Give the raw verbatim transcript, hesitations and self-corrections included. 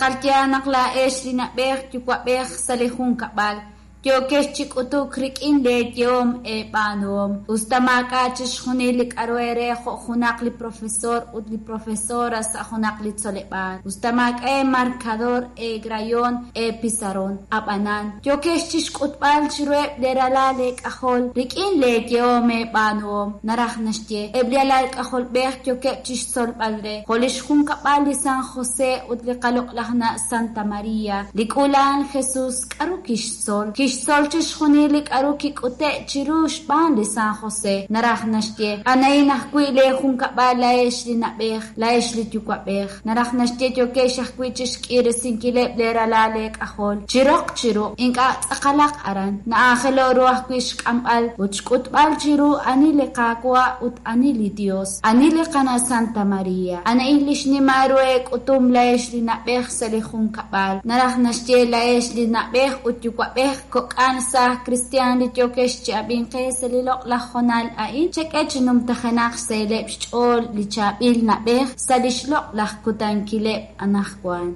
Tz'aqal yaal naq laa'ex li na'b'ej yuwa'b'ej sa' li junkab'al yookex chi k'utuk rik'in lee yehom eeb'aanuhom, us ta maak'a' chixjunil li k'a'ru eere jo' junaq li profesor ut li profesora sa' junaq li tzoleb'aal, us ta maak'a' eemarcador, eegrayon, eepizarron. Ab'anan, yookex chixk'utb'al chiruheb' lee ralal eek'ajol rik'in lee yehom eeb'aanuhom. Naraj naxye, eb' li alal k'ajolb'ej yookeb' chixtzolb'al re, jo' lix junkab'al li San José ut li qaloq'laj na' Santa Maria, li k'uula'al Jesus k'aru kixtzol? Kixtzol chixjunil li k'aru kik'ute' chiru xb'aan li San José. Naraj naxye, a'an ajwi' lee junkab'al laa'ex li na'b'ej, laa'ex li yuwa'b'ej. Naraj naxye yookex ajwi' chixk'iresinkileb' lee ralal eek'ajol. Chi roq chi ruq', ink'a' tz'aqalaq aran. Na'aajelo ru ajwi' xk'amb'al ut xk'utb'al chiru ani li Qaawa' ut ani li Dios, ani li qana' Santa Maria. A'an li xnimal ru eek'utum laa'ex li na'b'ej sa' li junkab'al. Naraj naxye laa'ex li na'b'ej ut yuwa'b'ej kok'al saaj kristiaan li yookex chi ab'inqe sa' li loq'laj honal a'in, chek'e chi numtajenaq xsahileb' xch'ool li chaab'il na'b'ej sa' lix loq'laj kutankileb' anaqwan.